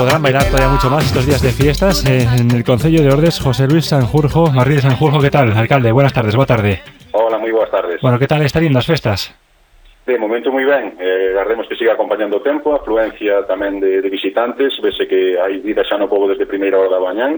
podrán bailar todavía mucho más estos días de fiestas en el Concello de Ordes. José Luis Sanjurjo, Marrí de Sanjurjo, ¿qué tal, alcalde? Buenas tardes, boa tarde. Hola, moi boas tardes. Bueno, que tal están indo as festas? De momento moi ben, agardemos que siga acompañando o tempo, a afluencia tamén de visitantes, vese que hai vida xa no pobo desde primeira hora da mañán,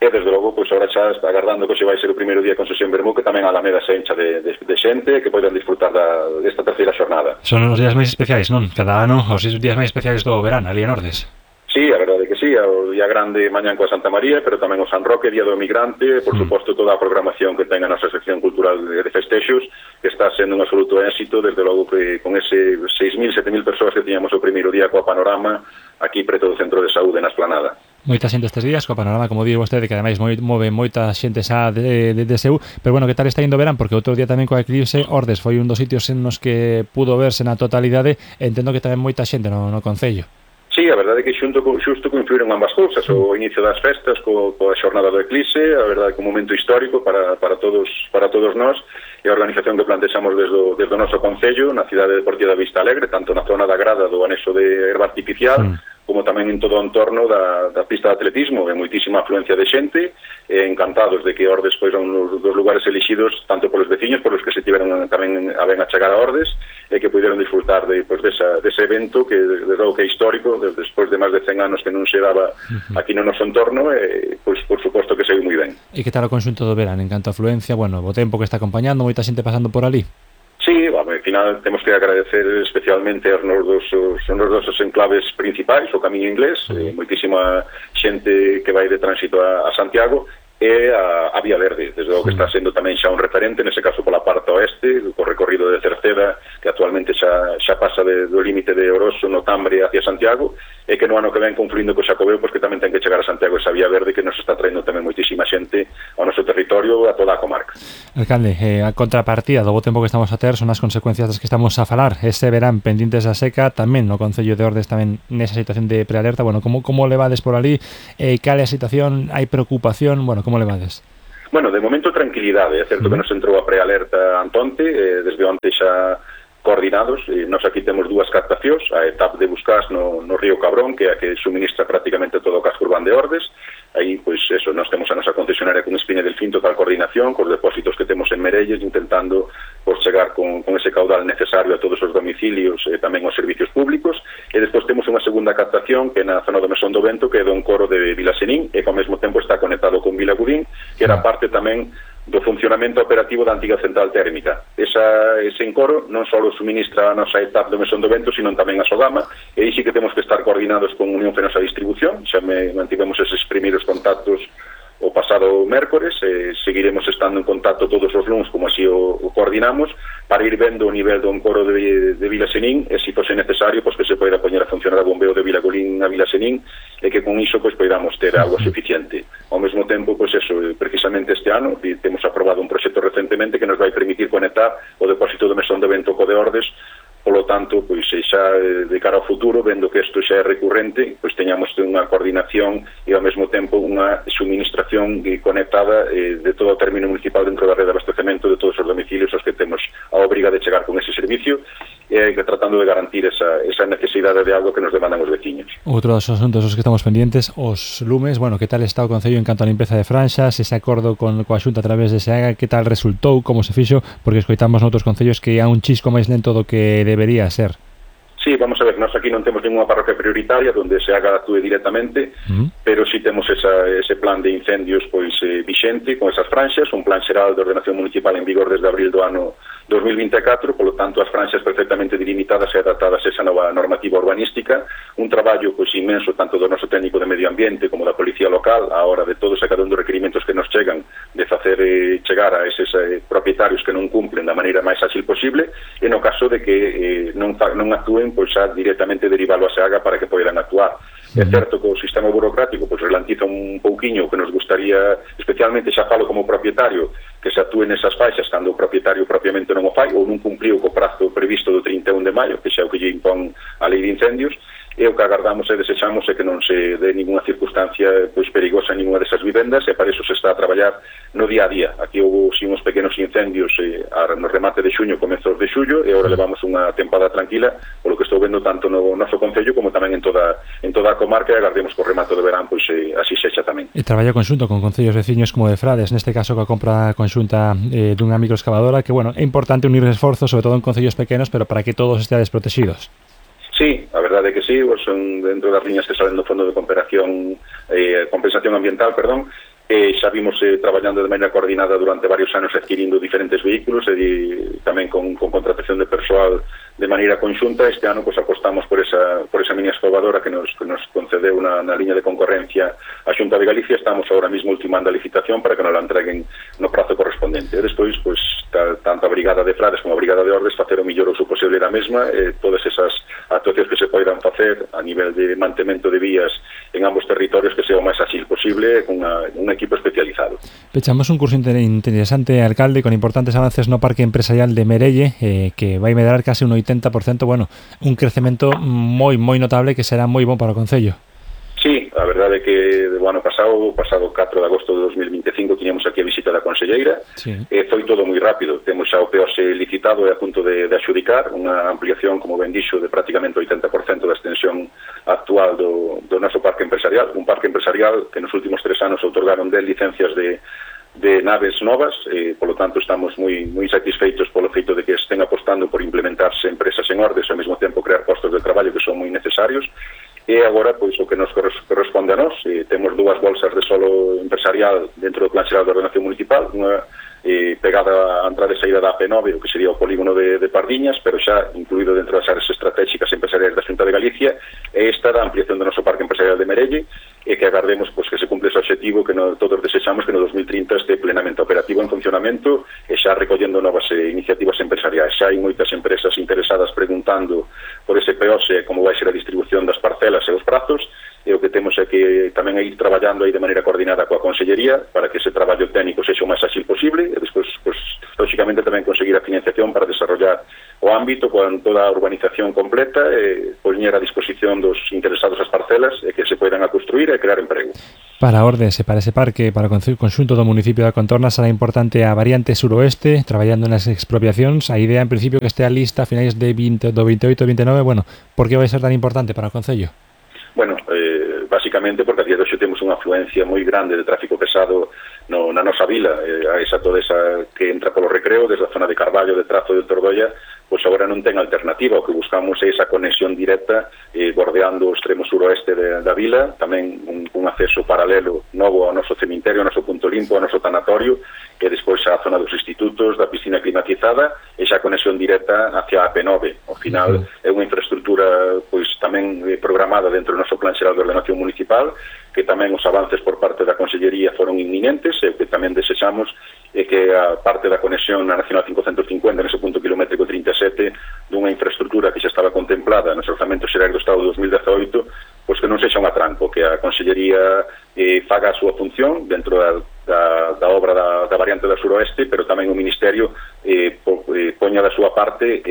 e desde logo, pois agora xa está agardando que se vai ser o primeiro día con sesión Bermú, que tamén a Alameda se encha de xente que poden disfrutar desta terceira xornada. Son os días máis especiais, non? Cada ano os días máis especiais do verán, ali en Ordes. Sí, a verdade que sí, o día grande mañán coa Santa María, pero tamén o San Roque, Día do Emigrante, por suposto toda a programación que ten a nosa sección cultural de festexos, que está sendo un absoluto éxito, desde logo que con ese 6.000, 7.000 persoas que tiñamos o primeiro día coa Panorama, aquí preto do Centro de Saúde, na Esplanada. Moita xente estes días, coa Panorama, como digo vostede, que ademais move moita xente xa de seu, pero bueno, que tal está indo verán? Porque outro día tamén coa eclipse, Ordes foi un dos sitios en nos que pudo verse na totalidade, entendo que tamén moita xente no Concello. Sí, a verdade é que xusto coincidiron ambas cousas, o inicio das festas coa xornada do eclipse, a verdade que un momento histórico para todos nós, e a organización que plantexamos desde o noso Concello, na cidade deportiva da Vista Alegre, tanto na zona da grada do anexo de herba artificial, como tamén en todo o entorno da pista de atletismo, e moitísima afluencia de xente, encantados de que Ordes foi un dos lugares elixidos tanto polos veciños, polos que se tiveron tamén a ben a chegar a Ordes, e que puderon disfrutar dese evento que desde logo que é histórico, despois de máis de 100 anos que non se daba aquí no noso entorno, pois por suposto que saiu moi ben. E que tal o conxunto do verán en canto a afluencia, bueno, o tempo que está acompañando, moita xente pasando por ali? Sí, ao final temos que agradecer especialmente aos nosos enclaves principais, o Camiño Inglés, moitísima xente que vai de tránsito a Santiago, e a Vía Verde, desde logo que está sendo tamén xa un referente, nese caso pola parte oeste, co recorrido de Cerceda, que actualmente xa pasa do límite de Oroso, no Tambre, hacia Santiago, e que no ano que ven confluindo co Xacobeo, pois que tamén ten que chegar a Santiago esa Vía Verde que nos está traendo tamén moitísima xente ao noso territorio, a toda a comarca. Alcalde, a contrapartida do bo tempo que estamos a ter son as consecuencias das que estamos a falar. Este verán pendientes da seca, tamén no Concello de Ordes tamén nesa situación de prealerta. Bueno, como levades por ali? Cal é a situación? Hai preocupación? Bueno, como levades? Bueno, de momento tranquilidade, é certo que nos entrou a prealerta antonte, desde onte xa coordinados, nós aquí temos dúas captacións, a etapa de Buscás no río Cabrón, que é a que suministra prácticamente todo o casco urbano de Ordes. Aí, pois, eso, nós temos a nosa concesionaria con Espiña del Fin, total coordinación, cos depósitos que temos en Merelles, intentando por chegar con ese caudal necesario a todos os domicilios e tamén aos servicios públicos, e despois temos unha segunda captación que é na zona do Mesón do Vento, que é do encoro de Vilasenín, e que ao mesmo tempo está conectado con Vilagudín, que era parte tamén do funcionamento operativo da antiga central térmica. Ese encoro non só suministra a nosa etapa do Mesón do Vento, sino tamén a Sogama, e aí sí que temos que estar coordinados con Unión Fenosa Distribución. Xa mantivemos eses primeiros contactos o pasado mércores, seguiremos estando en contacto todos os luns, como así o coordinamos, para ir vendo o nivel do encoro de Vilasenín, e se fose necesario, pois que se poida poñer a funcionar o bombeo de Vilagolín a Vilasenín, e que con iso pois poidamos ter agua suficiente. Ao mesmo tempo, pois eso, precisamente este ano temos aprobado un proxecto recentemente que nos vai permitir conectar o depósito do Mesón de Vento co de Ordes. Polo tanto, pois xa de cara ao futuro, vendo que isto xa é recurrente, pois teñamos unha coordinación e ao mesmo tempo unha suministración conectada de todo o término municipal dentro da rede de abastecemento de todos os domicilios aos que temos a obriga de chegar con ese servicio, e tratando de garantir esa necesidade de agua que nos demandan os veciños. Outro dos asuntos os que estamos pendientes, os lumes, bueno, que tal está o Concello en canto a limpeza de franxas, ese acordo coa Xunta a través de SEAGA, que tal resultou, como se fixo, porque escoitamos noutros concellos que há un chisco máis lento do que debería ser. Sí, vamos a ver, nós aquí non temos ninguna parroquia prioritaria onde se haga actúe directamente, pero sí temos ese plan de incendios pois vixente con esas franxas, un plan xeral de ordenación municipal en vigor desde abril do ano 2024, polo tanto as franxas perfectamente delimitadas e adaptadas a esa nova normativa urbanística, un traballo pois inmenso tanto do noso técnico de medio ambiente como da policía local a hora de todos e cada un dos requerimentos que nos chegan de facer chegar a eses propietarios que non cumplen da maneira máis ágil posible, e no caso de que non actúen, pois xa directamente derivalo a SEAGA para que poidan actuar. É certo que o sistema burocrático pois relantiza un pouquiño, que nos gustaría, especialmente xa falo como propietario, que se actúe nesas faixas cando o propietario propiamente non o fai ou non cumpliu co prazo previsto do 31 de maio, que xa é o que lle impón a lei de incendios, e o que agardamos e desexamos é que non se dé ninguna circunstancia pois perigosa en ninguna desas vivendas, e para iso se está a traballar no día a día. Aquí houve uns pequenos incendios no remate de xuño, comezos de xullo, e agora levamos unha tempada tranquila, polo que estou vendo tanto no noso concello como tamén en toda a comarca, e agardemos que o remate de verán pois así sexa tamén. E traballo conxunto con concellos veciños como de Frades, neste caso coa compra conxunta dunha microexcavadora, que bueno, é importante unir esforzos, sobre todo en concellos pequenos, pero para que todos esteades protegidos. Sí, a verdade é que sí, son dentro das liñas que salen do Fondo de Compensación Ambiental, xa vimos traballando de maneira coordinada durante varios anos adquirindo diferentes vehículos e tamén con contratación de persoal de maneira conxunta. Este ano pues, apostamos por esa mini excavadora que nos concedeu na liña de concorrencia a Xunta de Galicia. Estamos ahora mismo ultimando a licitación para que nos la entreguen no prazo correspondente. Despois, pues, tanto a Brigada de Frades como a Brigada de Ordes facer o mellor uso posible da mesma, todas esas actuacións que se poidan facer a nivel de mantemento de vías en ambos territorios que sea o máis ágil posible con un equipo especializado. Pechamos un curso interesante, alcalde, con importantes avances no Parque Empresarial de Merelle, que vai medrar case un 80%, bueno, un crecemento moi notable que será moi bon para o Concello. Sí, a verdade é que o ano pasado 4 de agosto de 2025, tiñamos aquí a visita da conselleira, sí. Foi todo moi rápido, temos xa o POS licitado e a punto de adxudicar, unha ampliación, como ben dixo, de prácticamente 80% da extensión actual do noso parque empresarial, un parque empresarial que nos últimos 3 anos outorgaron 10 licencias de naves novas, polo tanto estamos moi satisfeitos polo feito de que estén apostando por implementarse empresas en Ordes e ao mesmo tempo crear postos de traballo que son moi necesarios. E agora, pois, o que nos corresponde a nós, temos 2 bolsas de solo empresarial dentro do Plan Xeral de Ordenación Municipal, unha pegada á entrada e saída da AP9, o que sería o polígono de Pardiñas, pero xa incluído dentro das áreas estratégicas empresariais da Xunta de Galicia, e esta da ampliación do noso Parque Empresarial de Merelle, e que agardemos pois, que se cumpla ese objetivo que todos desexamos, que no 2030 este plenamente operativo en funcionamento e xa recollendo novas iniciativas empresariais. Xa hai moitas empresas interesadas preguntando por ese POS, como vai ser a distribución das parcelas e os prazos, e o que temos é que tamén ir traballando aí de maneira coordinada coa Consellería para que ese traballo técnico sexa o máis ágil posible e despois, pues, lógicamente, tamén conseguir a financiación para desarrollar o ámbito con toda a urbanización completa e poñer a disposición dos interesados as parcelas e que se poidan a construir e crear emprego. Para Ordes e para ese parque, para o conxunto do municipio da Contorna, será importante a variante suroeste, traballando nas expropiacións. A idea, en principio, que estea lista a finais do 28 e 29, bueno, por que vai ser tan importante para o Concello? Bueno, basicamente porque a día de hoxe temos unha afluencia moi grande de tráfico pesado na nosa vila, toda esa que entra polo Recreo, desde a zona de Carballo, de Trazo e de Tordoia, pois agora non ten alternativa. O que buscamos é esa conexión directa bordeando o extremo suroeste da vila, tamén un acceso paralelo novo ao noso cemiterio, ao noso punto limpo, ao noso tanatorio, e despois a zona dos institutos, da piscina climatizada, e xa conexión directa hacia a AP9. Ao final é unha infraestructura pois tamén programada dentro do noso Plan Xeral de Ordenación Municipal, que tamén os avances por parte da Consellería foron inminentes, e o que tamén desexamos é que a parte da conexión na Nacional 550, nese punto kilométrico 37, dunha infraestructura que xa estaba contemplada nos orzamentos xerais do Estado de 2018, pois que non sexa un atranco, que a Consellería faga a súa función dentro da obra da variante da suroeste, pero tamén o Ministerio poña da súa parte,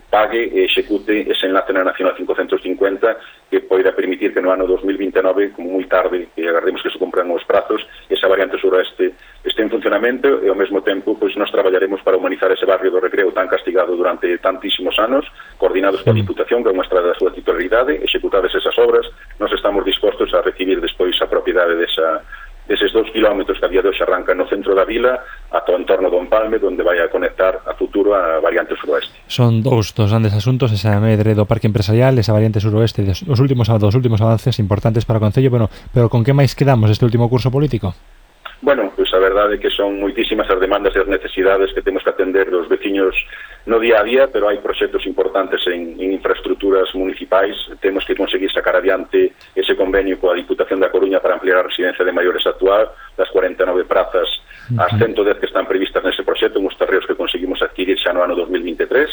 pague e execute ese enlace na Nacional 550 que poida permitir que no ano 2029, como moi tarde, e agardemos que se cumpran os prazos, esa variante suroeste este en funcionamento, e ao mesmo tempo pois nos traballaremos para humanizar ese barrio do Recreo tan castigado durante tantísimos anos, coordinados coa Diputación, que é unha estrada da súa titularidade, executadas esas obras. Nos estamos dispostos a recibir despois a propiedade deses 2 kilómetros que a día de hoxe arrancan no centro da vila ata o entorno do Empalme, onde vai a conectar a futuro a variante suroeste. Son dous grandes asuntos, esa medre do Parque Empresarial, esa variante suroeste, os últimos avances importantes para o Concello, pero con que máis quedamos este último curso político? Bueno, pois a verdade é que son moitísimas as demandas e as necesidades que temos que atender dos veciños no día a día, pero hai proxectos importantes en infraestructuras municipais. Temos que conseguir sacar adiante ese convenio coa Diputación da Coruña para ampliar a residencia de maiores actual, das 49 prazas ás 110 que están previstas nese proxecto, uns terreos que conseguimos adquirir xa no ano 2023.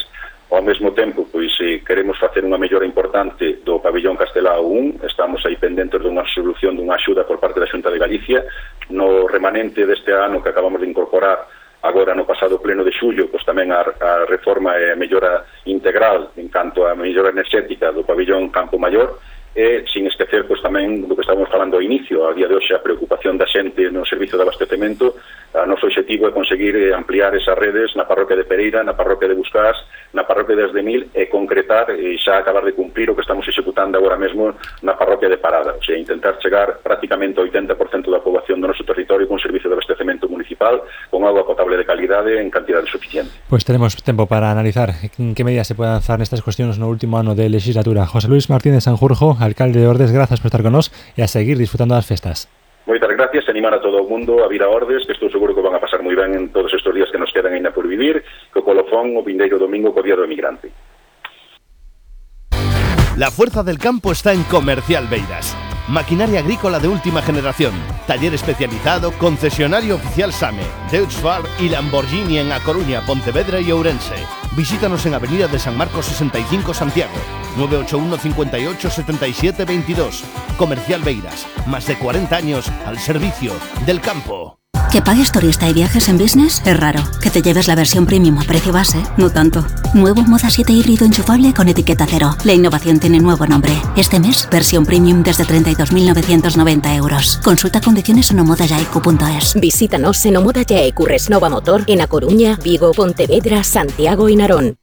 Ao mesmo tempo, pois, queremos facer unha mellora importante do pabillón Castelao 1, estamos aí pendentes dunha solución dunha axuda por parte da Xunta de Galicia. No remanente deste ano que acabamos de incorporar agora no pasado pleno de xullo, pois tamén a reforma e a mellora integral en canto a mellora enerxética do pabillón Campo Maior, e sin esquecer pois tamén do que estábamos falando ao inicio, a día de hoxe a preocupación da xente no servizo de abastecemento. O noso objetivo é conseguir ampliar esas redes na parroquia de Pereira, na parroquia de Buscás, na parroquia de Asdemil e concretar e xa acabar de cumprir o que estamos executando agora mesmo na parroquia de Parada, o sea, intentar chegar prácticamente ao 80% da poboación do noso territorio con servicio de abastecemento municipal con agua potable de calidade en cantidade suficiente. Pues tenemos tempo para analizar en que medidas se pueden lanzar nestas cuestións no último ano de legislatura. José Luis Martínez Sanjurjo, alcalde de Ordes, grazas por estar con nós e a seguir disfrutando das festas. Moitas gracias, animar a todo o mundo a vir a Ordes, que estou seguro que van a pasar moi ben en todos estes días que nos quedan ainda por vivir, co colofón o vindeiro domingo co Día do Emigrante. La fuerza del campo está en Comercial Beiras. Maquinaria agrícola de última generación, taller especializado, concesionario oficial SAME, Deutz-Fahr y Lamborghini en A Coruña, Pontevedra y Ourense. Visítanos en Avenida de San Marcos 65 Santiago, 981 58 77 22. Comercial Beiras, más de 40 años al servicio del campo. Que pagues turista y viajes en business es raro. Que te lleves la versión premium a precio base, no tanto. Nuevo Moda 7 híbrido enchufable con etiqueta cero. La innovación tiene nuevo nombre. Este mes, versión premium desde 32.990 euros. Consulta condiciones en omodayaicu.es. Visítanos en Omoda Yaicu Resnova Motor en A Coruña, Vigo, Pontevedra, Santiago y Narón.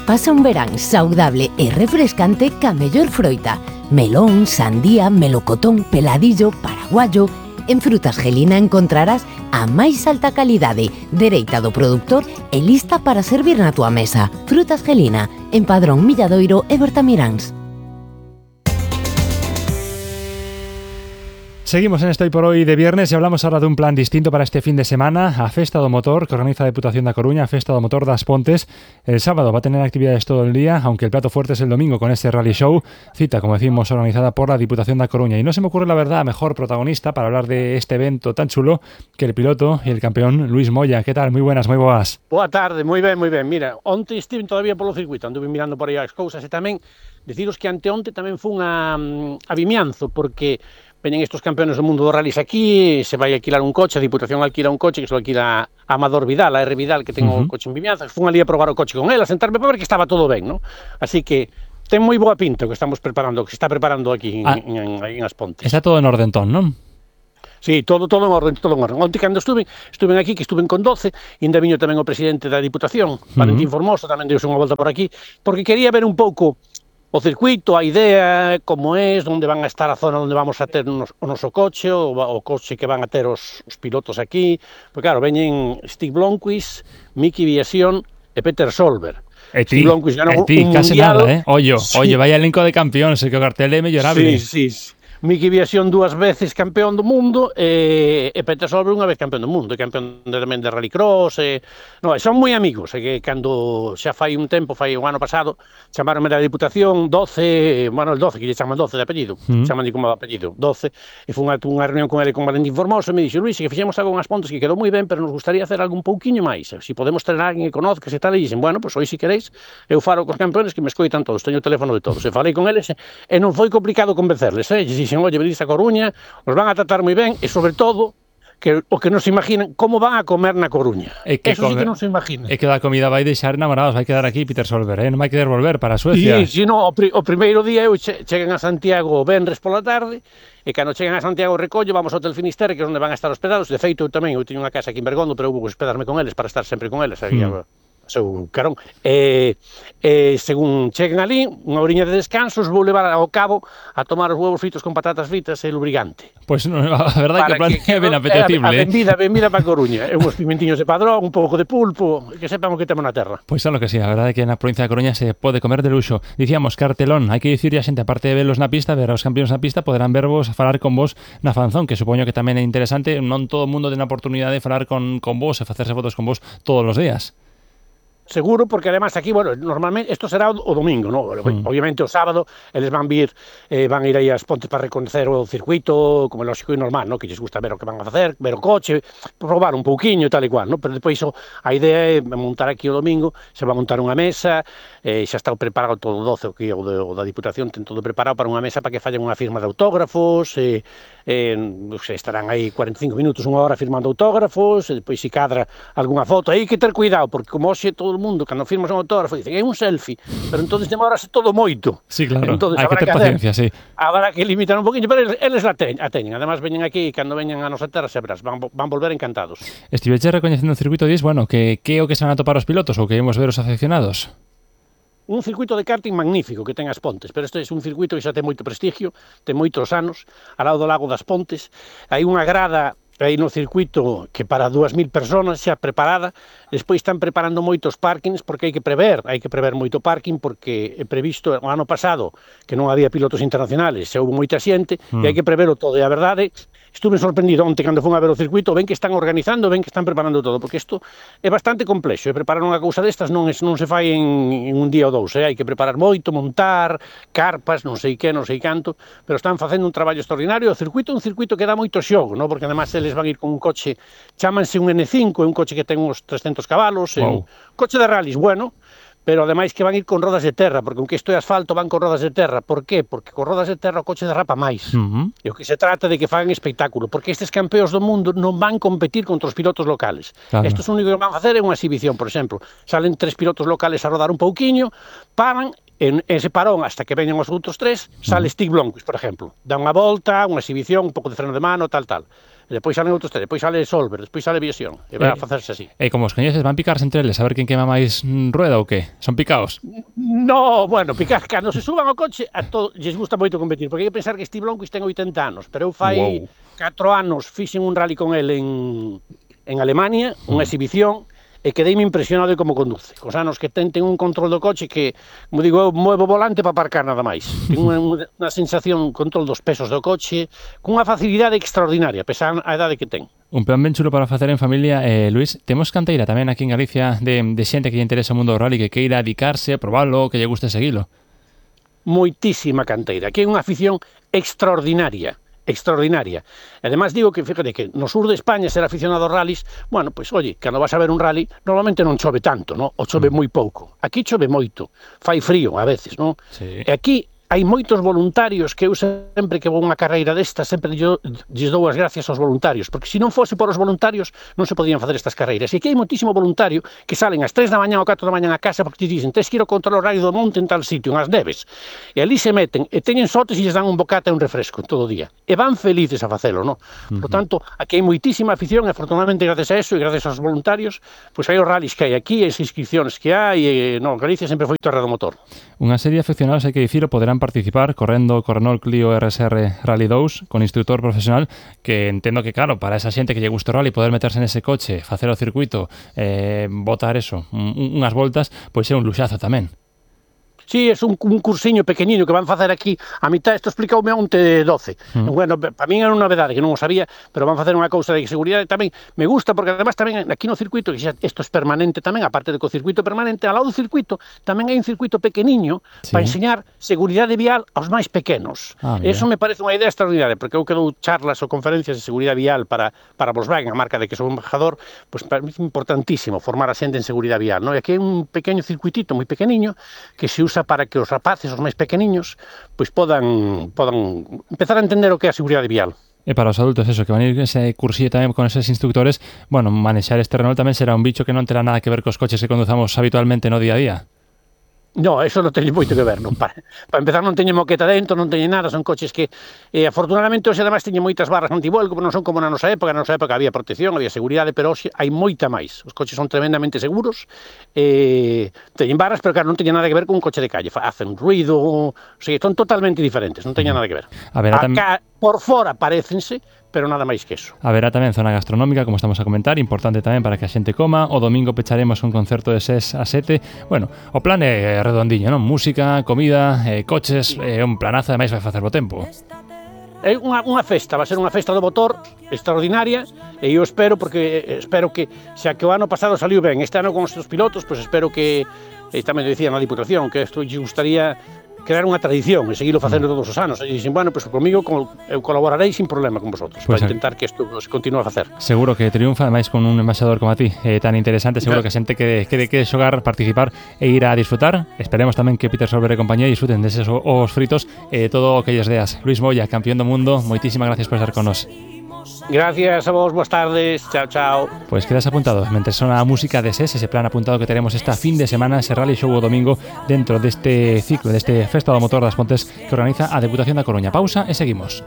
Pasa un verán saudable e refrescante ca mellor froita. Melón, sandía, melocotón, peladillo, paraguayo. En Frutas Gelina encontrarás a máis alta calidade, dereita do produtor e lista para servir na tua mesa. Frutas Gelina, en Padrón, Milladoiro e Bertamiráns. Seguimos en Estoy por Hoy de viernes y hablamos ahora de un plan distinto para este fin de semana. A Festa do Motor, que organiza a Deputación da Coruña, a Festa do Motor das Pontes. El sábado va a tener actividades todo el día, aunque el plato fuerte es el domingo con este rally show. Cita, como decimos, organizada por la Diputación da Coruña. Y no se me ocurre, la verdad, mejor protagonista para hablar de este evento tan chulo que el piloto y el campeón Luis Moya. ¿Qué tal? Muy buenas, moi boas. Boa tarde, moi ben, moi ben. Mira, onte estive todavía polo circuito, anduve mirando por aí as cousas e tamén deciros que anteonte tamén fun a Vimianzo, porque veñen estos campeones do mundo do rallies aquí, se vai alquilar un coche, a Diputación alquila un coche que se lo alquila a Amador Vidal, a R. Vidal, que ten o coche en Vimianzo, fun ali a probar o coche con él, a sentarme para ver que estaba todo ben, ¿no? Así que ten moi boa pinta o que estamos preparando, que se está preparando aquí en As Pontes. Está todo en ordentón, non? Sí, todo en orden, todo en orden. Onte cando estuve aquí, que estuve con 12, e ainda viño tamén o presidente da Diputación, Valentín Formoso, tamén deuse unha volta por aquí, porque quería ver un pouco o circuito, a idea, como é, onde van a estar a zona onde vamos a ter o noso coche, o coche que van a ter os pilotos aquí. Porque claro, veñen Stig Blomqvist, Miki Viación e Peter Solberg. Stig Blomqvist ganou un casi mundial. Nada, Oye, vaya elenco de campeóns, que o cartel é mellorable. Sí. Miki Viación 2 veces campeón do mundo e Peter Solberg unha vez campeón do mundo, campeón tamén de rallycross. Son moi amigos, que cando xa fai un tempo, fai un ano pasado, chamaronme da Diputación 12, bueno, el 12, que lle chaman 12 de apellido, chaman como de apellido, 12, e fun a unha reunión con ele con Valentín Formoso, e me dixo, Luis, que fixemos algo en As Pontes que quedou moi ben, pero nos gustaría hacer algo un pouquiño máis, se podemos ter alguén que conozca, se tal, e dixen, bueno, pois hoy, se queréis, eu falo cos campeones que me escoitan todos, teño o teléfono de todos, e falei con eles, e non foi complicado convencerles, dixen, oye, venís a Coruña, os van a tratar moi ben, e sobre todo, que o que non se imaginan, como van a comer na Coruña. Eso sí que non se imagina. É que a comida vai deixar enamorados, vai quedar aquí Peter Solberg, non vai querer volver para Suecia. Sí, no, o primeiro día eu cheguen a Santiago o venres pola tarde, e cando cheguen a Santiago recollo, vamos ao Hotel Finisterre, que é onde van a estar hospedados. De feito, eu teño unha casa aquí en Bergondo, pero eu vou hospedarme con eles para estar sempre con eles, seu carón. Según cheguen ali, unha oriña de descansos, vou levar ao cabo a tomar os huevos fritos con patatas fritas e lubricante. Pois a verdade que o plan é ben apetecible. A benvida para Coruña. Uns pimentiños de Padrón, un pouco de pulpo, que sepan o que temos na terra. Pois é lo que sí, a verdade é que na provincia de Coruña se pode comer de luxo. Dicíamos, cartelón, hai que dicirlle a xente, aparte de verlos na pista, ver aos campeóns na pista, poderán vervos falar con vos na fanzón, que supoño que tamén é interesante, non todo o mundo ten a oportunidade de falar con vos e facerse fotos con vos todos os días. Seguro, porque además aquí, bueno, normalmente isto será o domingo, ¿no? Obviamente o sábado eles van ir aí ás Pontes para reconocer o circuito, como é lógico e normal, ¿no? Que lles gusta ver o que van a facer, ver o coche, probar un pouquiño e tal e cual, ¿no? Pero depois a idea é montar aquí o domingo, se va a montar unha mesa, xa está preparado todo o 12, o da Diputación ten todo preparado para unha mesa para que fallen unha firma de autógrafos, estarán aí 45 minutos, unha hora firmando autógrafos, e depois se cadra algunha foto, aí que ter cuidado, porque como hoxe todo o mundo, cando firmas un autógrafo, dicen, é un selfie, pero entonces demorase todo moito. Sí, claro, entonces, hai que ter paciencia, sí. Habrá que limitar un poquinho, pero eles a teñen. Además, veñen aquí, e cando veñan a nosa terra, se verás, van volver encantados. Estiveche recoñecendo o circuito e dis, bueno, que é o que se van a topar os pilotos ou que íamos ver os afeccionados? Un circuito de karting magnífico que ten as Pontes, pero este é un circuito que xa ten moito prestigio, ten moitos anos, ao lado do lago das Pontes, hai unha grada aí no circuito que para 2.000 personas xa preparada, despois están preparando moitos parkings porque hai que prever moito parking porque é previsto o ano pasado que non había pilotos internacionales, xa houve moita xente e hai que prevero todo, e a verdade estuve sorprendido onte cando fun a ver o circuito, ven que están organizando, ven que están preparando todo, porque isto é bastante complexo, e preparar unha cousa destas non se fai en un día ou dous, hai que preparar moito, montar, carpas, non sei que, non sei canto, pero están facendo un traballo extraordinario. O circuito é un circuito que dá moito xogo, ¿no? Porque además eles van ir con un coche, chámanse un N5, é un coche que ten uns 300 cabalos, é un coche de rallies, bueno, pero ademais que van ir con rodas de terra, porque aunque isto é asfalto van con rodas de terra. Por qué? Porque con rodas de terra o coche derrapa máis. E o que se trata de que fagan espectáculo, porque estes campeóns do mundo non van competir contra os pilotos locales. Claro. Estos único que van facer é unha exhibición, por exemplo. Salen 3 pilotos locales a rodar un pouquiño, paran, en ese parón hasta que veñan os outros 3, sale Stig Blomqvist, por exemplo. Dá unha volta, unha exhibición, un pouco de freno de mano, tal. E depois salen outros 3, depois sale Solberg, despois sale Viación, e vai a facerse así. E como os coñeces, van picarse entre eles, a ver quen quema máis rueda ou que? Son picaos? No, bueno, picar, cando se suban ao coche, a todos lles gusta moito competir, porque hai que pensar que Stig Blomqvist ten 80 anos, pero eu fai 4 anos fixen un rally con el en Alemania, unha exhibición, e quedeime impresionado de como conduce. Cos anos que ten un control do coche que, como digo, eu movo o volante para aparcar nada máis. Ten unha sensación, control dos pesos do coche, cunha facilidade extraordinaria, pesa a idade que ten. Un plan ben chulo para facer en familia. Luis, temos canteira tamén aquí en Galicia de xente que lle interesa o mundo do rally, que queira dedicarse, probarlo, que lle guste seguilo. Moitísima canteira. Aquí hai unha afición extraordinaria. E además digo que, fíjate, que no sur de España ser aficionado aos rallies, bueno, pues, oye, cando vas a ver un rally, normalmente non chove tanto, ¿no? O chove moi pouco. Aquí chove moito, fai frío a veces, ¿no? Sí. E aquí hai moitos voluntarios que eu sempre que vou unha carreira desta, sempre lles dou as gracias aos voluntarios, porque se non fose por os voluntarios non se podían facer estas carreiras. E aquí hai moitísimo voluntario que salen ás 3 da mañá ou 4 da mañá a casa porque te dicen, tes que ir ao control horario do monte en tal sitio, en as neves. E ali se meten e teñen sotes e lles dan un bocata e un refresco todo o día. E van felices a facelo, ¿no? Por tanto, aquí hai moitísima afición e afortunadamente gracias a eso e gracias aos voluntarios, pois hai os rallies que hai aquí, as inscripcións que hai, e Galicia sempre foi terra do motor. Unha serie de afeccionados, hai que dicilo, poderán participar correndo o Renault Clio RSR Rally 2 con instructor profesional, que entendo que, claro, para esa xente que lle gusta o rally, poder meterse nese coche, facer o circuito, botar eso, unhas voltas, pois é un luxazo tamén. Sí, é un cursiño pequeniño que van facer aquí a mitad, isto explicoume onte 12. Bueno, para min era unha novedade que non o sabía, pero van facer unha cousa de seguridade tamén. Me gusta porque además tamén aquí no circuito, que xa isto é permanente tamén, aparte de que o circuito permanente, ao lado do circuito tamén hai un circuito pequeniño para enseñar seguridade vial aos máis pequenos. Eso me parece unha idea extraordinaria, porque eu que dou charlas ou conferencias de seguridade vial para Volkswagen, a marca de que sou embajador, pues para mí é importantísimo formar a xente en seguridade vial, ¿no? E aquí hai un pequeno circuitito moi pequeniño que se usa para que os rapaces, os máis pequeniños, pois podan empezar a entender o que é a seguridade vial. E para os adultos, eso, que van ir ese cursillo tamén con eses instructores, bueno, manexar este Renault tamén será un bicho que non terá nada que ver cos coches que conduzamos habitualmente no día a día. No, eso non teñe moito que ver, non. Para empezar non teñe moqueta dentro, non teñe nada, son coches que afortunadamente hoxe además teñen moitas barras antivuelco, non son como na nosa época había protección, había seguridade, pero hoxe hai moita máis. Os coches son tremendamente seguros, teñen barras, pero claro, non teñen nada que ver con un coche de calle, facen ruido, o sea, son totalmente diferentes, non teñen nada que ver. Acá, por fora, parécense, pero nada máis que eso. Haberá tamén zona gastronómica, como estamos a comentar, importante tamén para que a xente coma. O domingo pecharemos un concerto de 6 a 7. Bueno, o plan é redondiño, non? Música, comida, coches, un planazo, ademais vai facer bo tempo. É unha festa, vai ser unha festa do motor extraordinaria, e eu espero que xa que o ano pasado saliu ben, este ano con os seus pilotos, pois espero que, tamén dicía na Diputación, que isto lle gustaría crear unha tradición e seguilo facendo todos os anos. E dixen, bueno, pois comigo eu colaborarei sin problema con vosotros para intentar que isto se continue a facer. Seguro que triunfa, ademais con un embaixador como a ti, tan interesante, seguro que a xente que xogar, participar e ir a disfrutar. Esperemos tamén que Peter Solberg e compañía disfruten deses os fritos e todo o que lles deas. Luis Moya, campeón do mundo, moitísimas gracias por estar con nos. Gracias a vos, boas tardes, chao, chao. Pues quedas apuntado, mentre sona a música de SES, ese plan apuntado que teremos esta fin de semana, ese rally show o domingo dentro deste ciclo, deste Festa do Motor das Pontes que organiza a Deputación da Coruña. Pausa e seguimos.